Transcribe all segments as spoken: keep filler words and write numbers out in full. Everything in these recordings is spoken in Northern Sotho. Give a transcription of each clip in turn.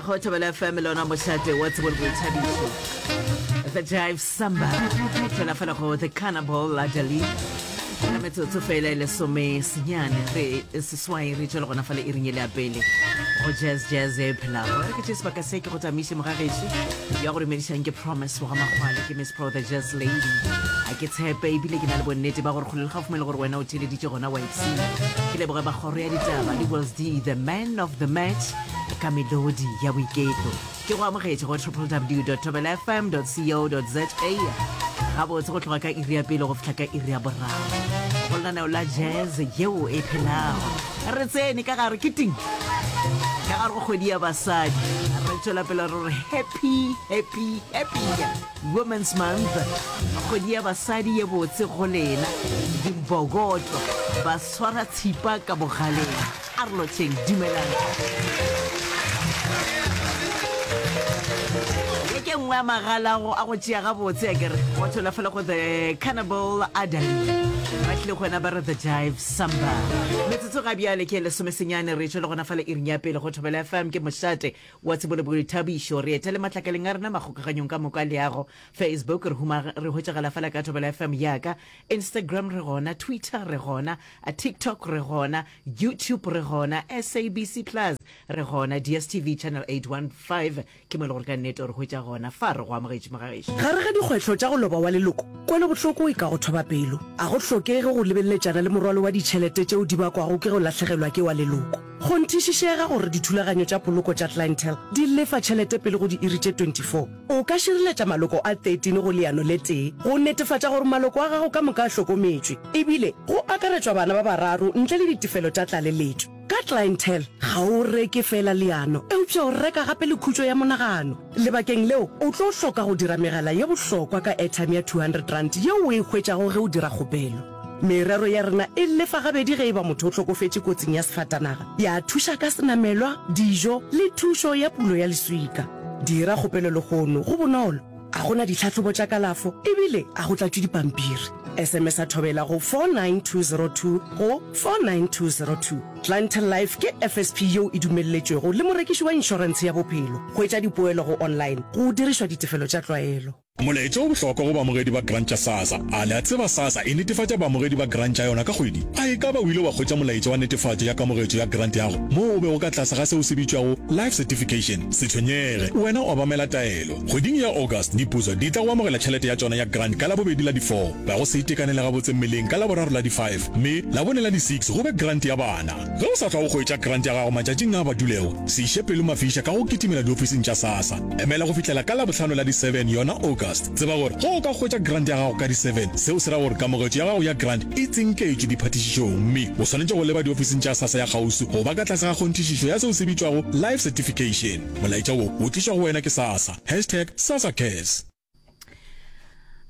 Go Thobela F M lona mošate wa tsebo le boithabišo. The Jive Samba tšwela fela go The Cannibal Adali ka metsotso fela e lesome senyane re seswai re tšwele gona fale iring e le ya pele go Jazz Jazz e phelago. Re ke tše sebaka se ke go tamiše mogagešo ya go dumedišang ke Promise wa ga Makgwale, ke Miss Pro the Jazz Lady. A ke tshepe ebile ke na le bonnete ba gore kgole le gaufi mo e le gore wena o theeleditše gona wa ipshina. Ke leboge ba kgoro ya ditaba le Wells D the man of the match ka melodi ya boiketlo. Ke go amogetše go www.thobelafm.co.za gabotse go tloga ka iri ya pele go fihla ka iri ya boraro go lenaneo la jazz yeo e phelago. Re tsene ka gare ke ting ka gare go kgwedi ya basadi, re tšwela pele re re happy happy happy Women's Month, kgwedi ya basadi ye botse go lena dimbokoto ba swara tshipa ka bogaleng. A re lotšheng, dumelang. Ye ke nngwe ya magala go a go tšea gabotse a kere go tšwela fela go The Cannibal Adali ba tlile go wena ba re The Jive Samba. Metsotso ga bjale ke lesomesenyane re tšwele gona fale iring ya pele go Thobela F M ke mošate wa tsebo le boithabišo. Re etele matlakaleng a rena makgokaganyong ka moka leago Facebook re huma re hwetšagala fela ka Thobela F M yaka, Instagram re gona, Twitter re gona, TikTok re gona, YouTube re gona, S A B C Plus re gona, D S T V channel eight one five ke mo e le gore ka nnete o re hwetša gona fa. Re go amogetše mogagešo. Gare ga dikgwetlho tša go loba wa leloko, kwelobohloko e ka go thoba pelo. A go hlokege go lebeleletšana le morwalo wa ditšhelete tšeo di bakwago ke go lahlegelwa ke wa leloko. Kgonthišišega gore dithulaganyo tša poloko tša Clientele di lefa tšhelete pele go diiri tše twenty four. O ka šireletša maloko a thirteen go leano le tee go netefatša gore maloko a gago ka moka a hlokometšwe, ebile go akaretšwa bana ba bararo ntle le ditefelo tša tlaleletšo. Ka Clientele, ga o reke feela leano, eupša o reka gape le khutšo ya monagano. Lebakeng leo, o tlo hloka go dira megala ye bohlokwa ka airtime ya two hundred rand yeo o e hwetšago ge o dira kgopelo. Merero ya rena e lefa gabedi ge e ba motho o hlokofetše kotsing ya sefatanaga, ya thuša ka senamelwa, dijo le thušo ya pulo ya leswika. Dira kgopelo lehono, go bonolo, a go na ditlhahlobo tša kalafo ebile a go tlatšwe dipampiri. S M S a thobela go four nine two zero two go four nine two zero two. Clientele Life ke F S P yeo e dumelletšwego le morekiši wa inšorentshe ya bophelo. Hwetša dipoelo go online go dirišwa ditefelo tša tlwaelo. Molaetša o bohlokwa go baamogedi ba grant tša SASSA. A le a tseba SASSA e netefatša baamogedi ba grant tša yona ka kgwedi? A e ka ba o ile wa hwetša molaetša wa netefatšo ya kamogetšo ya grant yago moo o bego ka tlase ga seo se bitšwago Life Certification? Se tshwenyege, wena obamela taelo. Kgweding ya August, diputso di tla go amogela tšhelete ya tšona ya grant ka Labobedi la di four, ba go se itekanele gabotse mmeleng ka Laboraro la di five, mme Labone la di six go be grant ya bana. Ge o sa hlwa o hwetša grant ya gago matšatšing a badulego, se iše pelo mafiša ka go kitimela diofising tša SASSA. Emela go fihlela ka Labohlano la di seven yona August. Tseba gore ge o ka hwetša grant ya gago ka di seven, seo se ra gore kamogetšo ya gago ya grant e tsinketšwe diphatišišong mme o swanetše go leba diofising tša SASSA ya kgauswi go ba ka tlase ga kgonthišišo ya seo se bitšwago Life Certification. Molaetša wo o tlišwa go wena ke SASSA. Hashtag SASSACares.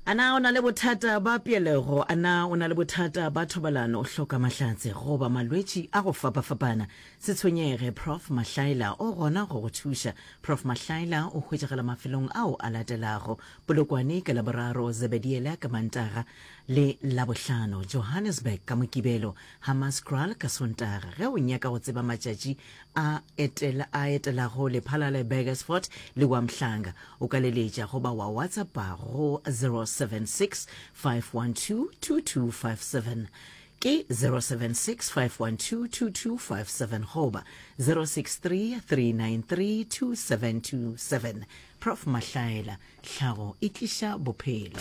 A na o na le bothata ba peelego? A na o na le bothata ba thobalano, o hloka mahlatse goba malwetši a go fapafapana? Se tshwenyege, Prof Mahlaela o gona go go thuša. Prof Mahlaela o hwetšagala mafelong ao a latelago: Polokwane ka Laboraro, Zebediela ka Mantaga le Labohlano, Johannesburg ka Mokibelo, Hammanskraal ka Sontaga. Ge o nyaka go tseba matšatši a etela, a etelago Lephalale, Burgersfort le Wamhlanga, o ka leletša goba wa WhatsAppa go zero seven six five one two two two five seven. Ke zero seven six five one two two two five seven goba zero six three three nine three two seven two seven. Prof Mahlaela, tlhago e tliša bophelo.